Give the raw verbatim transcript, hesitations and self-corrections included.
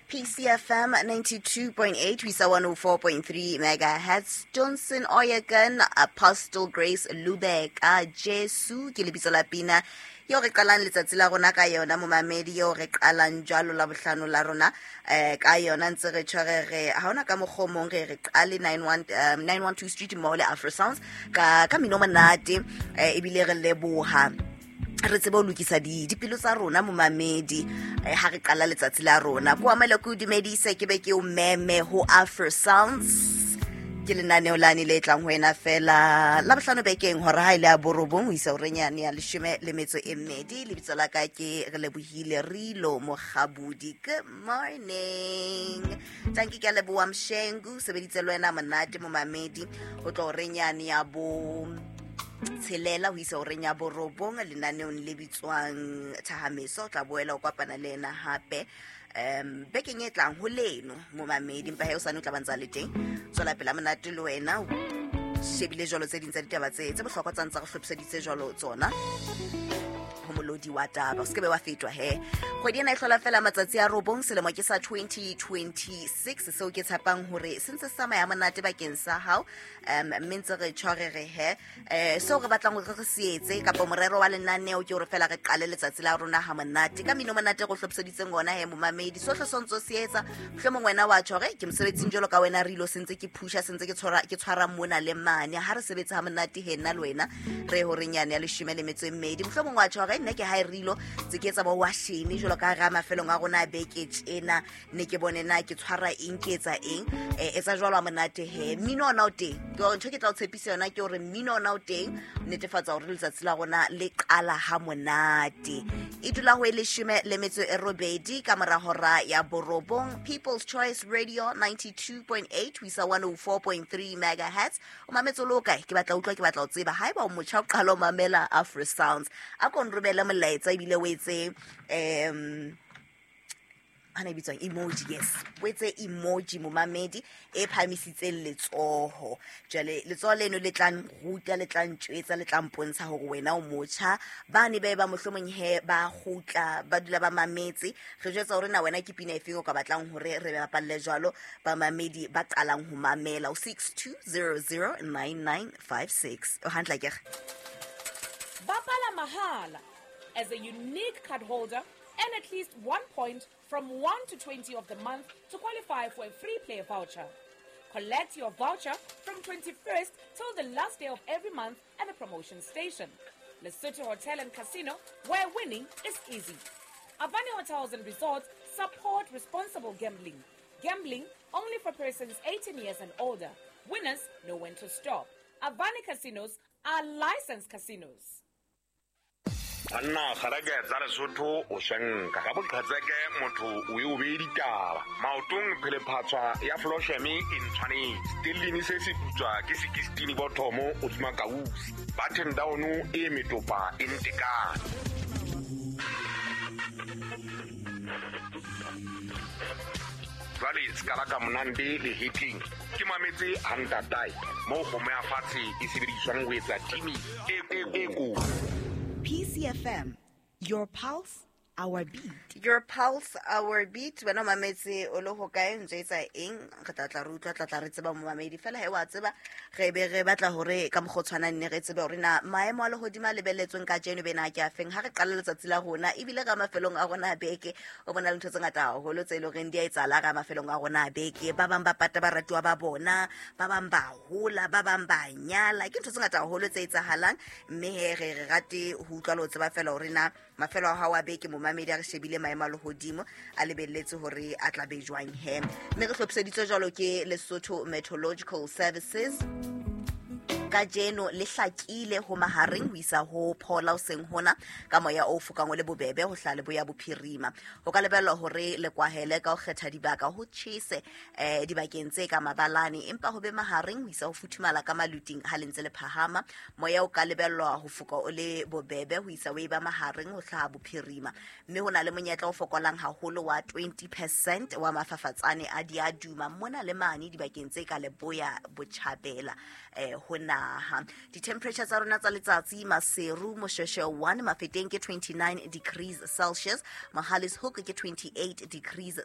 P C F M ninety-two point eight, we saw one oh four point three megahertz. Johnson Oyekan, Apostle Grace Lubeka, Jesu, ke lebitso la pina. Yo re qalang letsatsi la rona ka yona momamedi, yo re qalang jwalo la bohlano la rona, eh, ka yona ntse re tshwere re, ha hona ka mokgwa o mong re re qale nine one, um, nine one two Street mole Afro Sounds ka, ka mino monate, eh, ebile re leboha. Re tsebe ho lokisa di-, dipelo tsa rona momamedi, eh, ha re qala letsatsi la rona. Ko amele ko dumedise ke be ke o meme ho Afro Sounds. Ke lenaneo lane le tlang ho wena fela la bohlano bekeng hora ha ile ya borobong ho isa horeng yane ya leshome le metso e mmedi. Lebitso la ka ke re lebohile Rilo Mokgabudi. Good morning. Tanki ke a leboha Mshengu, sebeditse le wena monate momamedi ho tlo horeng yane ya bo tshelela ho isa horeng ya borobong lenaneong le bitswang Thahameso. O tla boela o kopana le yena hape um bekeng e tlang ho leno momamedi, empa he o sane o tla ba ntsa le teng. Tswela pela monate le wena, o shebile jwalo tse ding tsa ditaba tse, tse bohlokwa tsa ntse re hlophiseditse jwalo tsona ho molodi wa taba. O se ke be wa fetwa he. Kgwedi ena e hlola fela matsatsi a robong, selemo ke sa twenty twenty-six, seo ke tshepang hore se ntse se tsamaya monate bakeng sa hao. Um, mme ntse re tshware re he. Eh, seo re batlang hore re se etse kapa morero wa lenaneo ke hore fela re qale letsatsi la rona ha monate ka mino monate re hlophiseditseng ona he momamedi. Sohle se ntse se etsa, mohlomong wena wa tjho hore ke mosebetsing jwalo ka wena Rilo, se ntse ke phusha, se ntse ke tshwara, ke tshwara mona le mane. Ha re sebetsa ha monate he nna le wena re horeng yane ya leshome le metso e mmedi. Mohlomong wa tjho hore nna ke ha e Rilo tse ke etsa bo washene jwalo ka ha mafelong a rona a beke tjena, ne ke bone na ke tshwara eng, ke etsa eng. Eh, etsa jwalo ha monate he. Mmino ona o teng, ke hore ntho ke tla o tshepisa yona ke hore mmino ona o teng, netefatsa hore letsatsi la rona le qala ha monate. E dula ho e leshome le metso e robedi ka mora hora ya borobong. People's Choice Radio ninety-two point eight ho isa one oh four point three megahertz. O mametse o le hokae? Ke batla utlwa, ke batla ho tseba. Haeba o motjha o qala o mamela Afro Sounds, a ko nromele molaetsa ebile o etse, em, ana e bitswang emoji, yes, o etse emoji momamedi e phahamisitseng letsoho. Jwale letsoho leno le tla nruta, le tla ntjwetsa, le tla mpontsha hore wena o motjha. Ba ne ba e ba mohlomong he ba kgutla, ba dula ba mametse. Re jwetsa hore na wena ke pina efeng o ka batlang hore re bapalle jwalo bamamedi ba qalang ho mamela. O six two zero zero nine nine five six. O hantle akere? Bapala mahala as a unique card holder and at least one point from one to twenty of the month to qualify for a free play voucher. Collect your voucher from twenty-first till the last day of every month at the promotion station. Lesotho Hotel and Casino, where winning is easy. Avani Hotels and Resorts support responsible gambling. Gambling only for persons eighteen years and older. Winners know when to stop. Avani Casinos are licensed casinos. Banna kgareke tsa Lesotho o swenka ka boqhetseke motho o e o beye ditaba. Maotong phelephatswa ya Flosheme e ntshwanetse. Stellini se se putswa ke sixteen bothomo o tsuma kausi. Button down e metopa e ntekane. Jwale se ka la ka monande le hitting. Ke mametse ha ntatae moo kgomo ya fatshe e sebediswang ho etsa timi e, e, e kotsi. P C F M, your pulse, our beat. Your pulse, our beat. Wena o mametse o le ho kae, ntse etsa eng? Re tla tla re utlwa, tla tla re tseba momamedi. Fela he wa tseba, re be re batla hore ka mokgwa o tshwanang ne re tsebe hore na maemo a lehodimo a lebelletsweng kajeno be na ke a feng. Ha re qala letsatsi la rona, ebile ka mafelong a rona a beke, o bona le ntho tse ngata haholo tse e leng horeng di a etsahala ka mafelong a rona a beke. Ba bang ba pata baratuwa ba bona, ba bang ba hola, ba bang ba nyala. Ke ntho tse ngata haholo tse etsahalang, mme he re re rate ho utlwa le ho tseba fela hore na mafelo a hao a beke momamedi a re shebile maemo a lehodimo a lebelletse hore a tla be jwang he. Mme re hlophiseditswe jwalo ke Lesotho Meteorological Services. Kajeno le hlakile ho mahareng ho isa ho phola hoseng hona ka moya o fokang o le bobebe ho hlaha leboya bophirima. Ho ka lebellwa hore le kwahele ka ho kgetha dibaka ho tjhese, eh, dibakeng tse ka mabalane, empa ho be mahareng ho isa ho futhumala ka maluting ha le ntse le phahama. Moya o ka lebellwa ho foka o le bobebe ho isa o eba mahareng ho hlaha bophirima, mme ho na le monyetla o fokolang haholo wa twenty percent wa mafafatsane a diaduma mona le mane dibakeng tse ka leboya botjhabela, eh, ho naha. Di-temperature tsa rona tsa letsatsi, Maseru, Moshweshwe one, Mafeteng ke twenty-nine degrees Celsius, Mohale's Hoek ke twenty-eight degrees